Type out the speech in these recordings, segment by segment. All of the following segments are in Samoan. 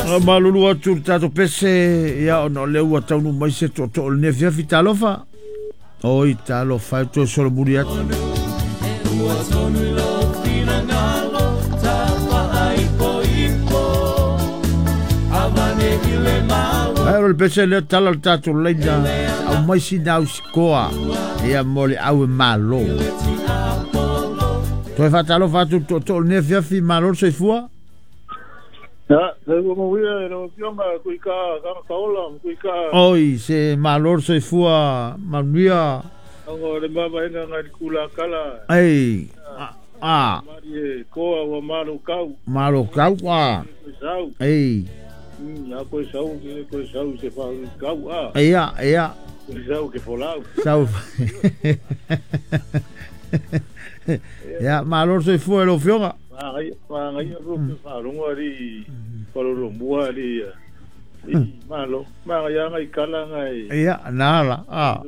Malulu atu le tatou pese ia ona o lea ua taunuu mai se tootoo o lenei afiafi. Talofa. Oi, talofa e toe solomuli atu. Ae o le pese lea tala le tatou laina au mai sina au sikoa ia mo le au e malo. Toe faatalofa atu le tootoo o lenei afiafi, malo le soifua. Oi, se malo le soifua manuia. Ei, a. Malo kau, a. Ei. Ia, ia. Sau. Ia, malo le soifua e lau Afioga. Ia, na ala, a.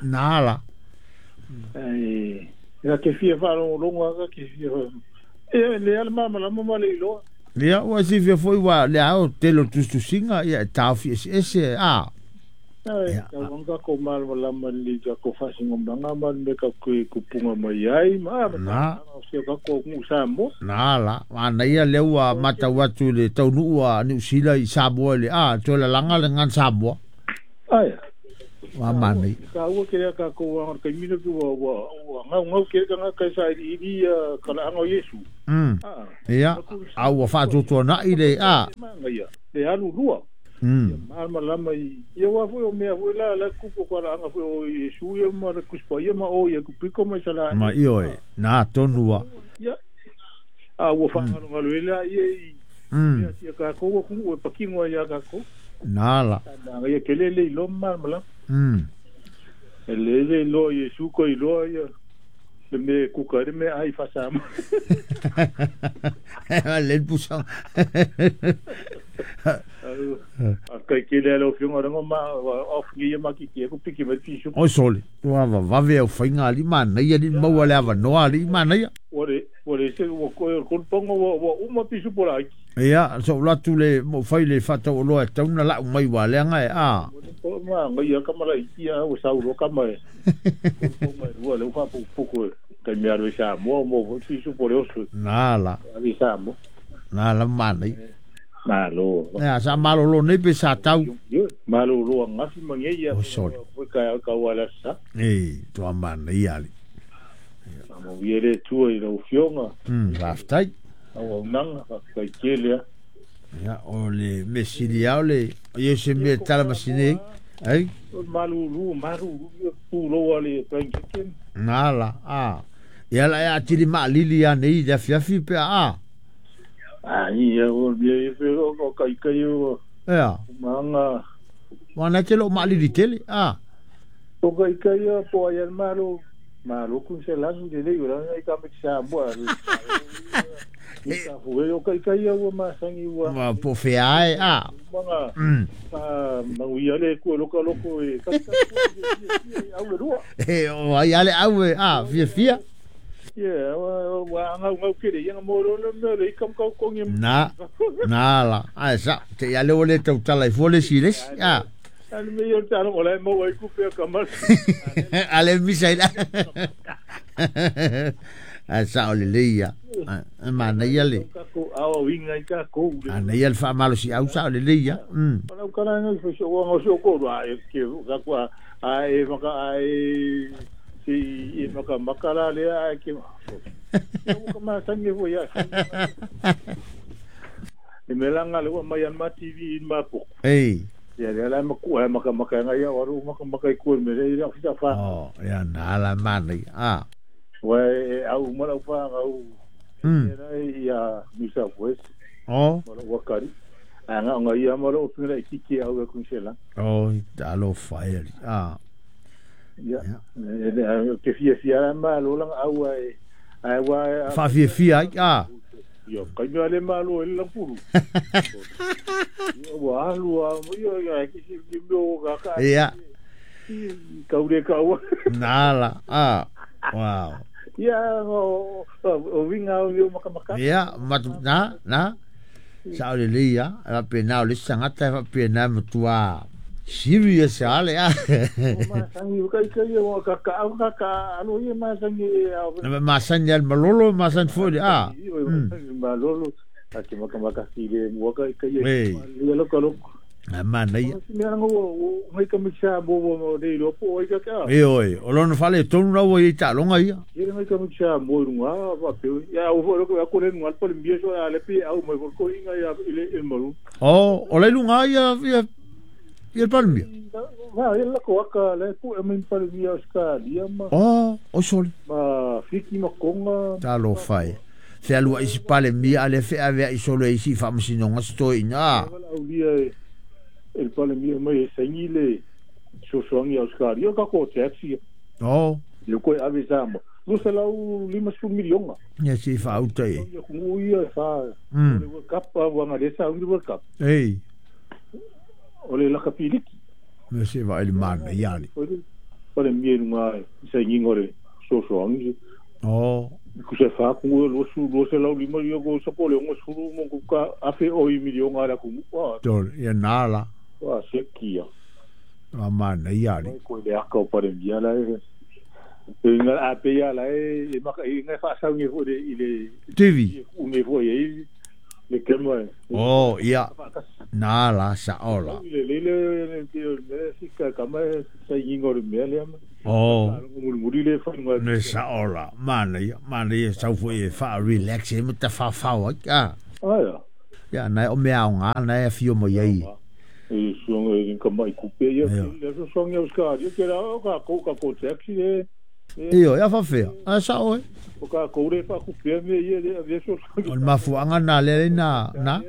Na ala. Ia, ua silafia foi ua le ao tele o tusitusiga, ia e taofi eseese, a. Ia. Na. Na la, manaia lea ua matau atu i le taunuu a Niu Sila i Samoa i le a, toe lalaga le gan Samoa. Ua manaia. Ia, a ua faatuatuanai le a. Ma ioe, na tonu a. Na la. Le pusa. Oi sole, ua vavave au faiga alii manaia alii maua le avanoa alii manaia. Ia, so ou atu le mo fai le faataualoa e tatau ona lau mai ua leaga e a. Na la. Na la manaia. Malo. Ia, sa malolo nei pe sa tau. Malolo angafi ma nei ia. O sole. Ka ka wala sa. Ei, toa manaia ali. Mo viere tua i lau fionga. Faafetai. Au nanga kai kele. Ia, o le mesili ao le ia se mea tala masine. Ai? Malulu, malulu pulo ale kai. Na la, a. Ia la ia tili ma lili ia nei le afiafi pe a. Ai, o mea e o kai kai o. Ia. Manga. Wana te lo ma lili tele, a. O kai kai o po ai al malo. Malo kun se langi le le ura ai ka me sa moa. Ni ka fu o kai kai o ma sangi ua. Ma po fea e a. Manga. Pa manguia le ku loko loko e ka ka au le rua. E o ai ale au e a fia fia. Yeah, wa ngau ngau kere ia mo ro le le kam kau kongi. Na. Na la. Ai sa te ia le ole tau tala i fole si les. A. Ani me yo talo ola mo wai ku pe kamal. Ale misa ila. Ai sa ole le ia. Ma na ia le. Ko au winga i ka ko. Ana ia le fa malo si au sa ole le ia. Ala kala ngai fo so wa so ko ra e ke ka kwa ai maka ai si i maka makala le ai ke. Ko ma sangi fo ia. E melanga le wa mai an ma TV in ma po. Ei. Ia le la maku ai maka maka ngai ia waru maka maka i ku me le ia fita fa. Oh, ia na la mani. A. Wa au mala fa au. Era ia New South Wales. Oh. Mala wakari. Anga nga ia mala o pinga i kiki au ku sela. Oh, alo fa e. A. Ia. Ke fia fia ma lo lang au ai. Ai wa fa fia fia a. Ia kai mea le malo e le puru. Ua alu a ia ia ki si ki meo ka ka. Ia. Kau le kau. Na la. A. Wow. Ia o o winga o maka maka. Ia, ma na na. Sa o le lei a, a pe na o le sangata fa pe na matua serious a le a. Masangi ka ka ia o ka ka ka ka alo ia masangi a. Na masangi al malolo masan fo le a. Malolo a ke maka maka si le mua ka ka ia. Ia lo ka lo. Na mana ia. Mea ngo ngai ka misa mo mo nei lo po ai ka ka. E oi, o lona fale tonu na ua i taaloga ia. Ia ngai ka misa mo runga va pe. Ya o fo lo ko le ngal pole mbia so a le pi au mai ko inga ia ile il malu. O, o le lunga ia ia ia palmia. Va ia la ko aka le pu e min palmia Australia ma. O, o soli. Ma fiki ma konga. Talo fai. Fe alua isi palemia ale fe avea i solo isi faamasinoga setoeina. Aulia el palemia mai e saini le sosoagi Australia ka ko taxi. O. Le ko ave sa mo. 250 milionga. Ia si faauta e. Ia ku ia fa. Le World Cup wa ngale sa le World Cup. Ei. O le laka piliki. Me se va ele mana ia le. Palemia nunga saini ngore sosoagi. O. Ku se fa ku lo su lo se lau lima ia ko sa ko le ngo suru mo ku ka afe o i milionga la ku. Tol ia nala. Wa se kia. A mana ia le. Ko le aka o palemia la e. Nga a pe ia la e maka i nga fa sa ngi fo le i le TV. U ngi fo ye le kema. Oh ia. Nala sa ola. Le le le le si ka kama sa ngi ngor me le. Oh. Muri le fa nga. Ne sa ola. Mana ia, mana ia sau fo e fa relax e mata fa fa wa. Ah. Ah ya. Ya na o mea nga na e fio mo ye. E suanga e ka mai kupe ia le so songa os ka ia ke ra ka ko ka ko taxi e. Io ia fa fea. A sa oe. O ka ko re fa kupe me ia le ave so. O mafuanga na le na na.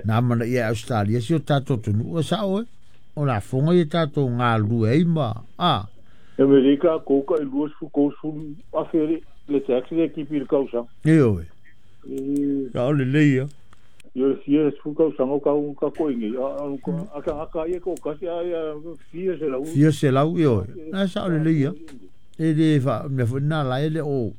Na mana ia Australia si o tatou tunu o sa oe. O la fonga ia tatou ngā lue ai ma. A. E me le ka ko ka lu su ko su a fe le taxi le ki pil kausa. Io. Ka o le le ia. Ia fia su kausa ngo ka ka ko ingi. A ka ka ia ko ka sia ia fia se lau. Fia se lau io. Na sa o le le ia. E le fa me fo na la ele o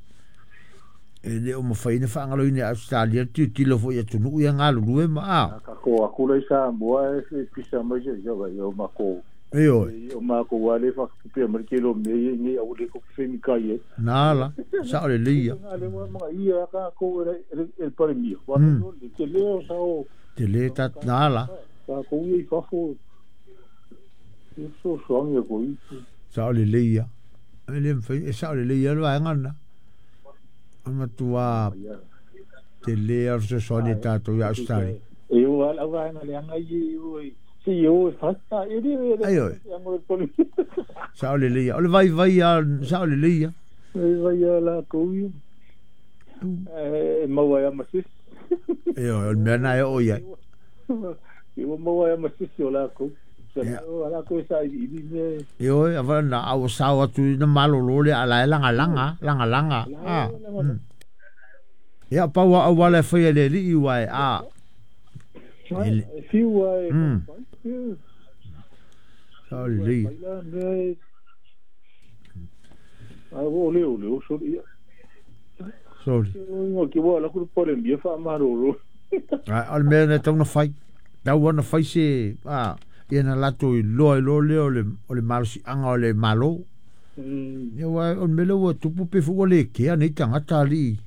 e le o mawhaina whaangalo ina Australia ti tilo fo ia tunu ia ngā lulue ma a. Ka ko akula i sa moa e pisa mai se ia vai o mako. E oi. O mako wale fa kupe mai ke lo me ngi au le ko femi kai e. Nā la, sa o le leia. Nā le wa ia ka ko el pare mio. Wa le te leo sa o. Te le ta nā la. Ka ko i fafo. E so soangi ko i. Sa o le leia. E le mwhai, e sa o le leia lo ai ngana. Matua te le au se soani tātou i Australia. E o ala wa nga le anga i o si o fasta e le ai oi. Sa o le leia. O le vai vai a sa o le leia. E vai a la ko i. E maua ia masis. E o le mea na e o ia. E o maua ia masis o la ko. Ala ko sa i me. E oi awa na au sao atu na malolo le ala e langa langa langa langa. Ah. Ia paua au wale whai le li iwa e a. E fiua e. Sa o le lei. A o le o le o sori. Sori. O ki wa la ku pole mbia fa marolo. A o le mea na tauna whai. Tau ana whai se a. Ia na lato i loa i loa lea o le malosi anga o le malo. Ia wa o mele ua tupu pe fua le kea nei tangata ali.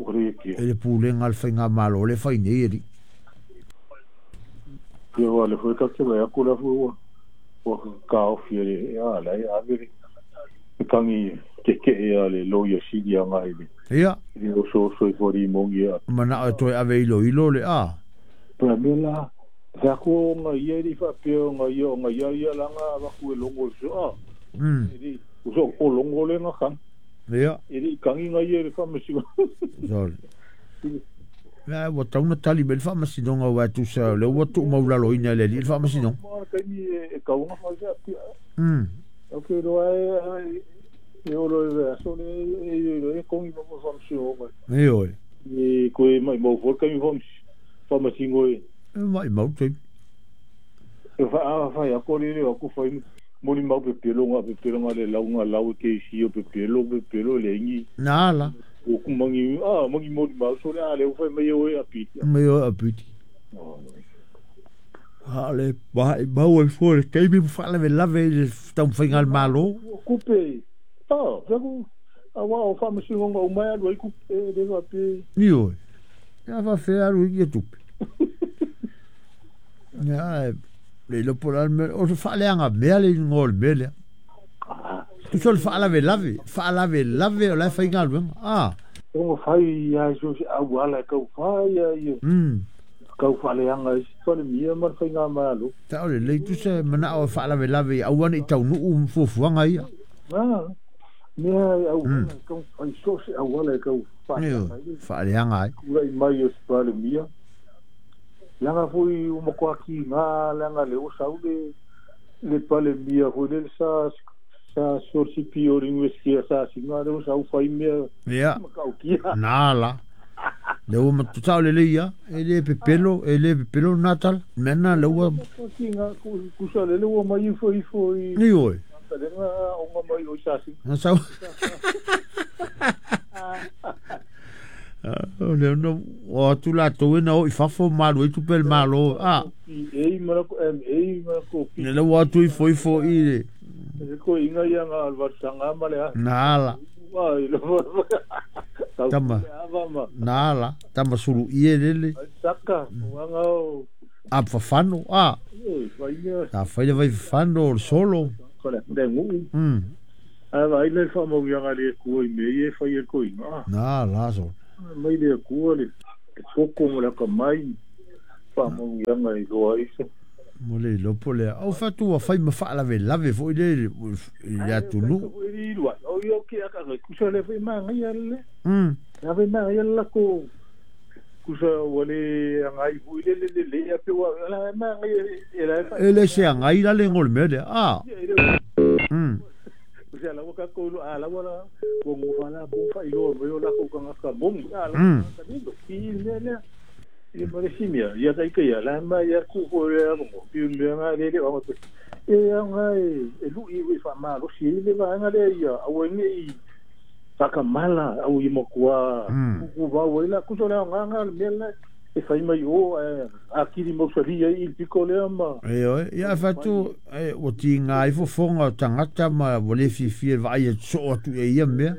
O le kea. E le pūlenga le whainga malo le whai nei eri. Ia wa le fue ka ke wai aku la fue wa ka ofi le a la e avere. E kangi ke ke e a le lo ia sidi anga i le. Ia. I o so so i fori mongi a. Mana o toi ave i lo ilo le a. Pera me la. Te ako nga ia i whapeo nga ia nga ia ia langa waku e longo so a. O so o longo le nga kang. Ia. E i kangi nga ia le whamasigo. Sorry. Ia wa tauna tali me le whamasinonga wa tu sa le ua tu maulalo ina le li le whamasinonga. Mara kai ni e kaunga whaisea pia. Ok roa e e oro e aso le e e kongi mo whamasinonga. E oi. E koe mai mau fo kai whamasingo e. E mai mau te. E fa a fa ya ko le ko fa moni mau pe pelo nga pe pelo nga le lau nga lau ke si o pe pelo le ngi. Nā la. O ku mangi a mangi moni mau so le a le fa mai o e apiti. Mai o apiti. A le vai mau e fua le taimi ma faalavelave i le taumafaiga a le Malo. Kupe, ah, aua o faamasinoga uma e alu ai kupe le faapea. Ioe. Ia faafefea alu ai ia tupe. Ia, le iloa po o le a le mea, o se faaleaga mea le igoa o le mea lea. Tusa o le faalavelave, faalavelave o la e fai galuega. Ah. Ona fai lava i so o se auala e tau fai a ia. Tau faaleaga ai se Palemia ma le Faigamalo. Sao lelei, tusa e manao e faalavelave ia aua ne i taunuu fuafuaga ia. A, mea e auala e tau fai so o se auala e tau faaleaga ai. Faaleaga ai. Tulai mai o se Palemia. Leaga foi ua matua tiga leaga lea ua sau le le Palemia foi lele sa sa sikolasipi o le Iunivesite a Sasina lea ua sau fai mea Ia, matautia. na la. Lea ua matu sao lelei ia, e le pepelo, e le pepelo lena tala. Mea lena lea ua. Matua tiga tusa lele ua mai ifo ifo i Ioe. Salega aoga mai o i Sasina. Na sau. O lea na o atu latou e na o i fafo ma alu ai tupe a le Malo. Ah. PA ma la MA ma la ko Lea ua atu ifo ifo i le. Le koiga ia nga alvarsanga ma le a. Na ala. Tama. Na ala. Tama sulu ie lele. Saka, wanga o. A fafano, a. Sa fai le vai fafano o le solo. Ko le le ngu. A vai le fa mo ia le ku i me e fai e koiga. Na la so. Mai le ku le poko mo la ka mai. Fa mo ia ngai loa iso. Mo le iloa po o le a. Au fatu ua fai ma faalavelave foi le i le atunuu. O ia ke aka ngai kusa le fai mangai le. Na fai mangai la ko kusa ua le agai foi le le le le pe ua la mangai e la E le se agai la le ngo le mea lea. Ah. Kusa la ua ka ko a la ua la ua ngo la ko fa ilo mo la ko ka ka mong a la ka ni ki le le ia ma le simia ia kai kai la ma ia ku ko le mo pi me nga le le o e anga e lu i wi fa ma lo si le va nga le ia au nge i whakamala au i mokua ku va o la ku so le nga nga me le e fai mai o a kiri mo sali i piko le ma e oi ia fatu e o ti nga i fofonga o tangata ma ua le fiafia e vaai atu soo atu e ia mea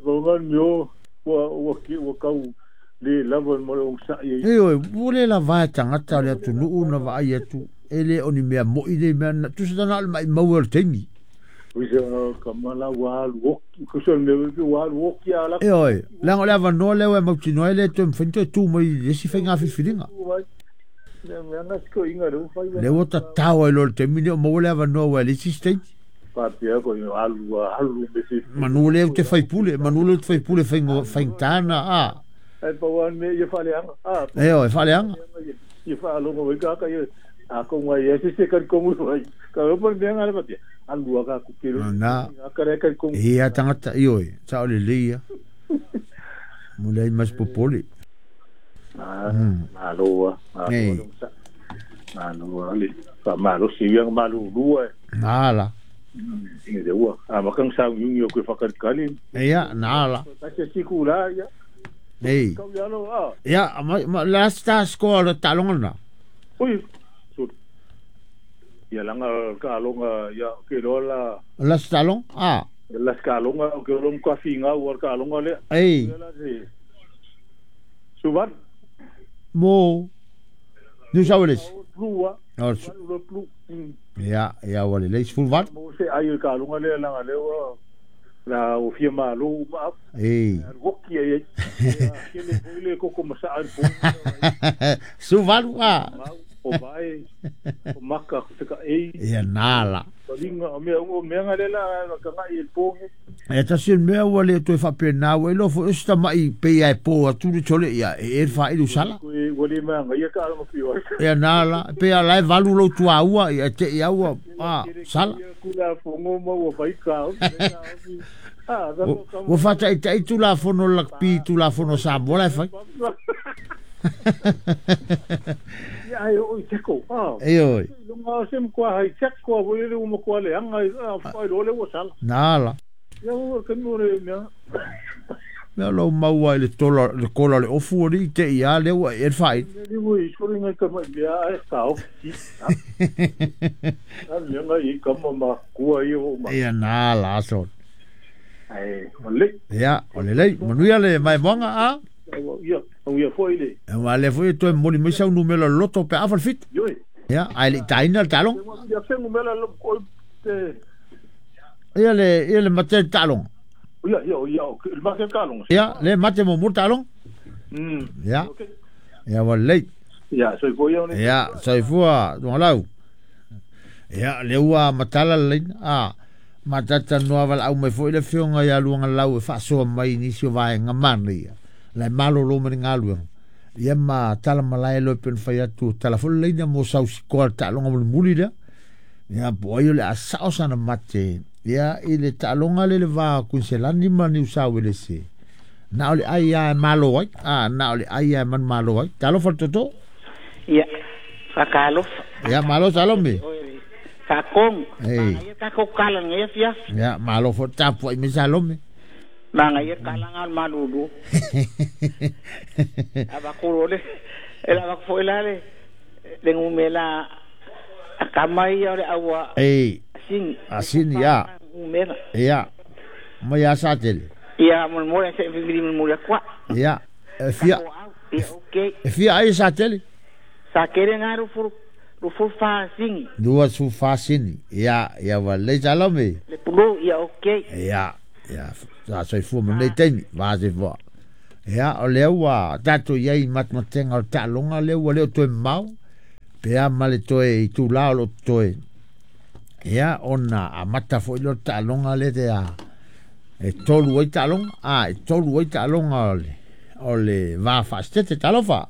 o nga mio ua ua ki ua kau le lava mo le ogasai ai. Ioe, ua le lava e tagata o le atunuu na vaai atu, e le o ni mea mo'i nei mea, na tusa tana o le maimau o le taimi. Kusa ka mala ua alu oki, kusa le mea pe ua alu oki a la. Ioe, leaga o le avanoa lea ua e mautinoa ai le toe mafai ona toe tu mai i le isi faiga filifiliga. Lea ua tatao ai loa i le taimi lenei o maua le avanoa aua e leai se isi taimi. Faapea ko alu alu me se. Manu lea ou te faipule, manu lea ou te faipule faigata na, a. Ai pau lava le mea ia faaleaga, a. Ioe, faaleaga. Ia faalogo mai kaka ia, a ko ngai ia se se kari kongu mai. Ka opo le mea ngale faapea, alu a ka kukelo. Na. Ka le kari kongu. Ia tagata, ioe, sao lelei ia. Mo leai ma se popole. Malo a, malo a. Malo a le faamalosi ia malulua e. Na la. Inga te ua. A makang sauniuni o koe whakalikali. Ia, na la. Tasi siku la ia. Ei. Kau ia lo a. Ia, ma la sta score le talonga na. Oi. So. Ia langa ka alonga ia ke lo la. La stalon a. La skalonga o ke lo mka finga o ka alonga le. Ei. Suvan. Mo. New South Wales. Plua. No, ia, ia ua lelei 18. Mo se ai o ka alonga le langa le ua la o fia malo ma Ei. woki ai ai. Ke le foi le koko masa ai po. 18 a. O vai o maka ko te ka ei. Ia nala. Linga o mea o mea ngale la ka ngai e ponge. E tasi o le mea ua le toe faapena ua iloa foi o se tama'i pei a e po atu le tole ia e e le faaili sala. Ua le mea ia ka alonga pio. Ia nala pei a la e valu lou tuaua ia te i aua a sala. Kula fongo ma ua fai ka. Ua faataitai Tulafono Lakpi Tulafono Samoa la e fai. Ia ai o i teko. Ah. Ioe. Lunga se mkoa hai teko a voi le uma koa le anga a fai lo le ua sala. Nala. Ia ua ka mo le mea. Mea lo maua i le tola le kola le ofu o li te ia le ua e fai. Li ua i sori ngai ka mai mea ai ka ofi. A mea ngai i kama ma kua i o ma. Ia nā la so. Ai, o le. Ia, o le lei, manuia le mai moanga a. Ia, au ia foi le. E wa le foi toe moli mai sau numera loto pe afa le fitu. Ioi. Ia, ai le taina le talong. Ia fengu mela lo ko te. Ia le mate le talong. Ia, ia, ia, le mate talong. Ia, le mate mo mo talong. Ia. Ia wa lei. Ia, soifua ia ne. Ia, soifua tualau. Ia, le ua matala le a matata noa wala au mai foi le fionga ia luanga lau e faasoa mai nisi o vaega mana ia. Lai malolo ma le galuega. Ia ma tala malae loe pe na fai atu tala foi le laina mo sausikoa le taaloga mulimuli lea. Ia po ai o le a sao sana mate. Ia i le taaloga le le va Kuiniselani ma Niu Sauelese. Na o le ai a e malo ai. A na o le ai a e manumalo ai. Talofa le toto. Ia, whakalofa. Ia, malo salome. Whakong. Manga ia kako kala ngai fiafi. Ia, malo fo tapu ai me salome. Manga ia kala ngal malulu. Aba kuro le. Ela bak fo ela le. Le ngumela akama ia le awa. Ei. Asin. Asin ia. Ngumela. Ia. Mai asa tele. Ia mo mo se viviri mo le kwa. Ia. Fia. Ia okay. Fia ai sa tele. Sa kere ngaru furu. Rufu fa sini. Dua su fa sini. Ia, ia wa le salome. Le pulo ia okay. Ia, ia. Sa soifua ma nei taimi, va soifua. Ia, o lea ua tatou iai matematenga o le taaloga lea ua le o toe mamao. Pe a ma le toe i tūlā o lo toe. Ia, ona amata foi lea o le taaloga lea te a. E tolu ai taaloga. A, e tolu ai taaloga o le va faasitete talofa.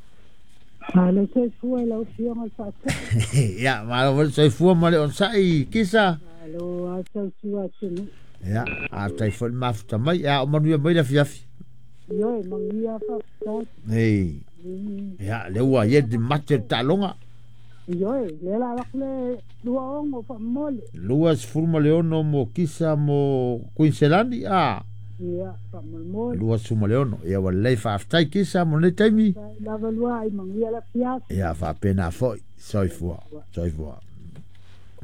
Malo soifua i lau fioga le faatau. Ia, malo foi soifua ma le onasai kisa. Malo a sausua atunu. Ia, a tai foi le mafuta mai. Ia, o manuia mai le afiafi. Ioe, manuia faafetai. Ei. Ia, le ua ia te mate le taaloga. Ioe, le la avako le 26 faamomole. 26 mo kisa mo Kuiniselani a. Ia, faamolemole. 26. Ia ua lelei faafetai kisa mo lenei taimi. Lava lua ai manuia le afiafi. Ia faapena foi. Soifua. Soifua.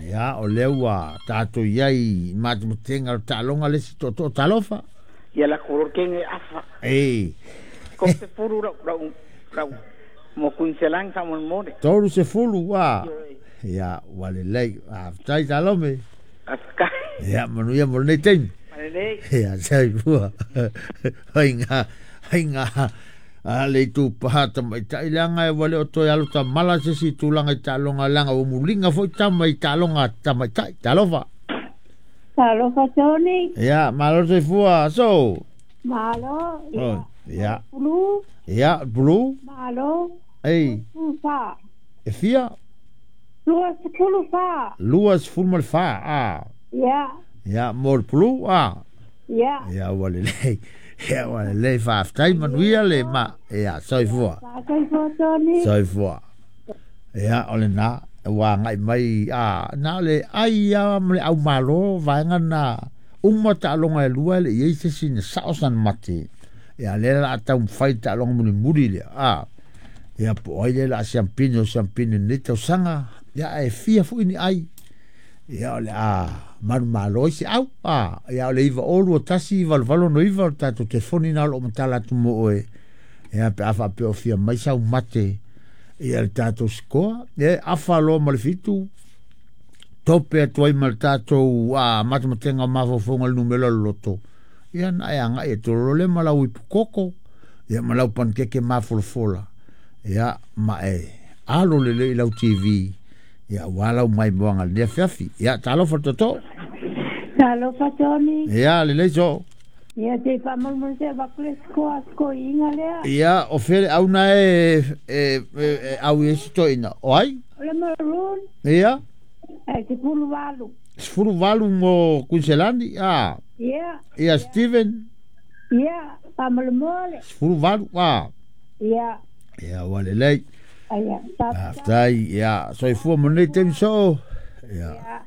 Ia, o lea ua tatou iai matematenga o le taaloga le isi tootoo talofa. Ia la koror kenge afa. Ei. Ko te furu rau rau rau mo Kuiniselani faamolemole. 30 a. Ia, ua lelei. Faafetai salome. Afekai. Ia, manuia mo lenei taimi. Malelei. Ia, soifua. Hainga, hainga. A le itu paha tamaitai leaga e ua le o toe alo tamala se isi tulaga i taaloga leaga ua muliga foi tama i taaloga tamaitai. Talofa. Talofa Tony. Ia, malo soifua so. Malo. Ia. Ia. Pulu. Ia, pulu. Malo. Ei. Fa. E fia. 24. 24 a. Ia. Ia, mo le pulu a. Ia. Ia, ua lelei. Ia, ua lelei faafetai manuia le ma. Ia, soifua. Soifua Tony. Soifua. Ia, o lena, ua agai mai a na o le ai a ma le aumalo vaega na uma taaloga e lua e le i ai se isi na sao sana mate. Ia, lea la a taumafai le taaloga mulimuli lea. A. Ia, po o ai lea la a siampini o siampini lenei tausaga. Ia, ae fia foi ni ai. Ia, o le a manumalo ai se au. A, ia, o le 902 1 88 o le tatou telefoni na o loo matala atu mo oe. Ia, pe a faapea o fia mai sau mate. Ia, le tatou sikoa. Ia, afa loa ma le 7. Tope atu ai ma le tatou matematenga o mafaufauga le numera o le loto. Ia, na e agai e tololo le ma lau ipukoko. Ia, ma lau pankeke mafolafola. Ia, ma e alo lelei i lau TV. Ia, ua lau mai moaga lenei afiafi. Ia, talofa le toto. Talofa Tony. Ia, lelei so. Ia, te faamolemole se avako le sikoa sikoiiga lea. Ia, o fea le auna e au i ai se toeaina. O ai? O le maroon. Ia. E 18. 18 mo Kuiniselani a. Ia. Ia, Steven. Ia, faamolemole. 18 a. Ia. Ia, ua lelei. Ia, Faafetai. Ia, soifua mo lenei taimi soo. Ia.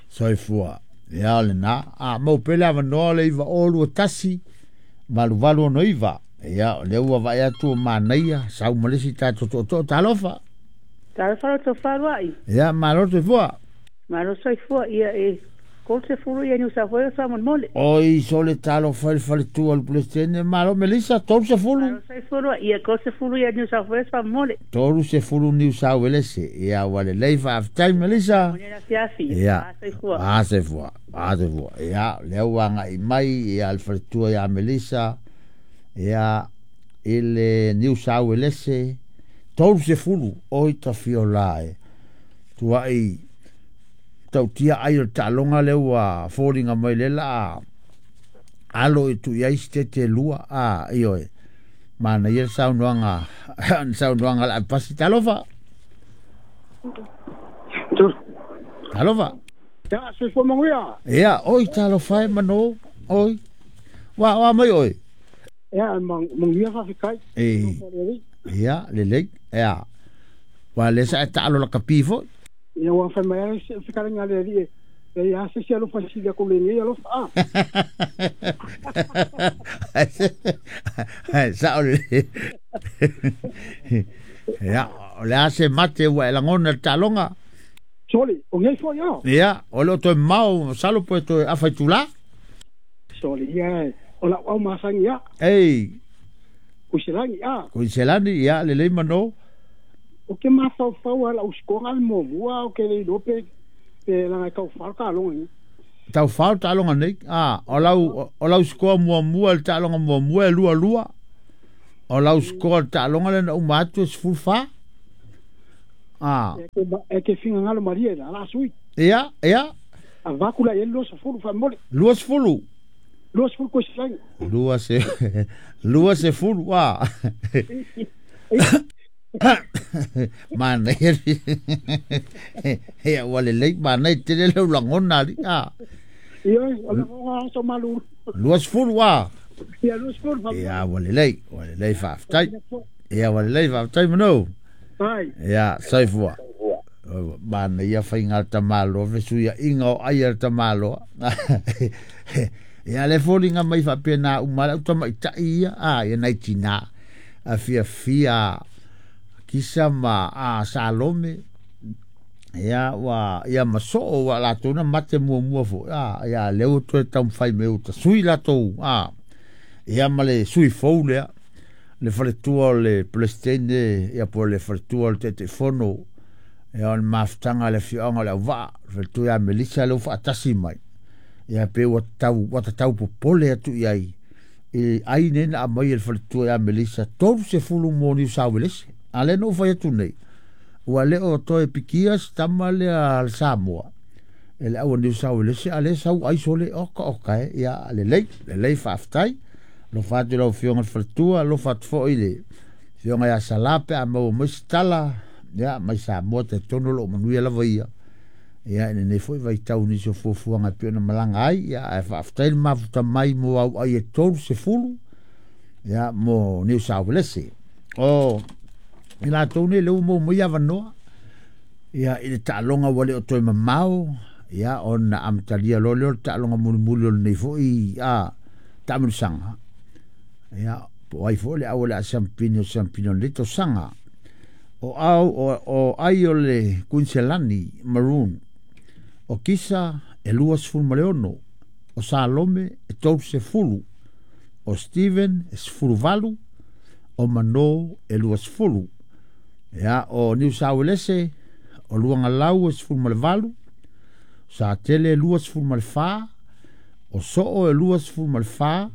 Soifua. Ia, o lena. A, mau pea le avanoa le 921 Valu ono iva. Ia, o lea ua vaai atu o manaia, sau ma le isi tatou tootoo, talofa. Talofa lo tofaluai. Ia, malo soifua. Malo soifua, ia e 30 ia Niu South Wales faamolemole. Oi, sole talofa i le faletua o le Peresetene, malo Melissa, 30. Malo soifua, ia 30 ia Niu South Wales faamolemole. 30 Niu South Wales, ia ua lelei faafetai Melissa. Ia, soifua. Soifua, soifua. Ia, lea ua agai mai ia le faletua ia Melissa, ia i le Niu South Wales, 30 oi tafiola e. Tuai tautia ai o le taaloga lea ua foliga mai le la alo i tu iai se tete lua a ioe. Manaia le saunoaga saunoaga la pasi talofa. Talofa. Ya soifua manuia. Ia oi talofa e mano oi. Wa mai oi. Ia manuia faafetai. E ia lelei ia. Wa le sa taalo la kapi foi. Ia ua fai mai ai se fikalenga le ali e ia se se alofa sili ko le nei alofa a. Sa o le. Ia o le ase mate ua e langona le taaloga. Sole, o ngai foi ia. Ia, o le o toe mau salo po e toe afa i tula. Sole, ia o la au masangi ia. Ei. Kuiselani a. Kuiselani ia lelei mano. O ke mafaufau ala usikoga le muamua o ke le iloa pe laga e taufā le taaloga nei. Taufā le taaloga nei. A, o lau sikoa muamua le taaloga muamua e 22. O lau sikoa le taaloga le na uma atu e 14. A. E ke figagalo malie la la sui. Ia, ia. Avaku la ia 20 faamole. 20. 20 koisilagi. 20 a. Manaia ia ua lelei manaia tele lau lagona ali a. Ia o le aso malu. 20 a. Ia 20. Ia ua lelei faafetai. Ia ua lelei faafetai mano. Ai. Ia soifua. Manaia faiga le tamaloa fesuiaiga o ai a le tamaloa. Ia le foliga mai faapena uma le au tamaitai ia a ia nai tinā a fiafia kisa ma a Salome ia ua ia masoo ua latou na mate muamua foi a ia lea ua toe taumafai mai uta sui latou a ia ma le sui fou lea le faletua o le Peresetene ia po o le faletua o le Taitaifono ia o le mafutaga a le afioaga o le Auvaa le faletua ia Melissa lea ua faatasi mai ia pe ua tatau popole atu i ai i ai nei na aumai e le faletua ia Melissa 30 mo Niu South Wales. A le no fai atu nei ua le o toe pikia se tama lea le Samoa e le aua Niu South Wales a le sau ai sole oka oka e ia lelei faafetai. Alofa atu i lau afioga le faletua, alofa atu foi i le afioga ia Salā pe a maua mai se tala ia mai Samoa talitonu o loo manuia lava ia. Ia ina nei foi vaitau nisi o fuafuaga e pei ona malaga ai ia ae faafetai le mafuta mai mo au ai e 30 ia mo Niu South Wales. O i latou nei lea ua maua mai avanoa ia i le taaloga ua le o toe mamao ia ona amatalia loa lea o le taaloga mulimuli o lenei foi a taamilosaga ia po ai foi le au o le a siampini o siampini o lenei tausaga. O au o ai o le Kuiniselani Maroon o Kisa e 26 o Salome e 30 o Steven e 18 o Mano e 20 ia o Niu South Wales o Luagalau e 18 Satele e 24 o Soo e 24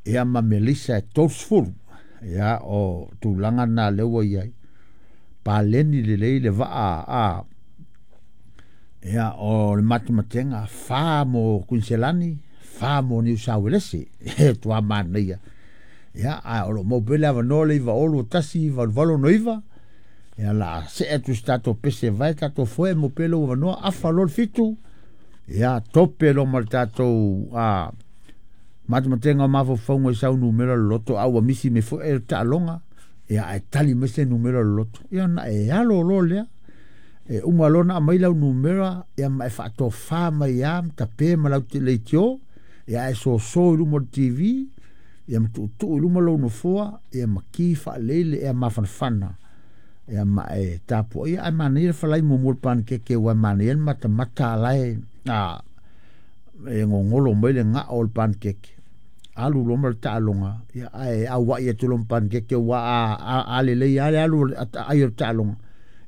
ia ma Melissa e 30 ia o tulaga na lea ua iai paleni lelei le vaa a ia o le matematenga 4 mo Kuiniselani 4 mo Niu South Wales e tua manaia ia a o lo mau pele avanoa le 9 1 8 8 9 ia la se atu se tatou pese vai tatou foe mo pele o avanoa afa lo le 7 ia tope lo ma le tatou a matematenga o mafaufauga i sau numera loto a ua misi me foi e taaloga ia ae tali mai se numera loto ia na e alo lo lea e uma lona aumai lau numera ia ma e faatofā mai a ma tape ma lau leitio ia ae soso i luma o le TV Ia ma tuutuu i luma lou nofoa, ia ma ki faalelei le ea mafanafana. Ia ma e tapuaia ae manaia le falai muamua o le panekeke ua e manaia le matamata alae a e gogolo mai le gao o le panekeke. Alu loa ma le taaloga, ia ae auai atu loa ma panekeke ua a lelei lava le alu ai o le taaloga.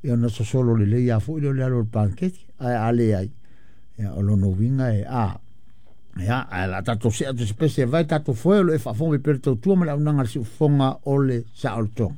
Ia ona sosolo lelei lava foi lea o le alu o le panekeke, ae a leai, ia o lona uiga e a ia ae o le a tatou see atu i se pese e vae tatou foe o lo o e faafofoga mai pea le tautua ma le auaunaga a le siufofoga o le saolotoga.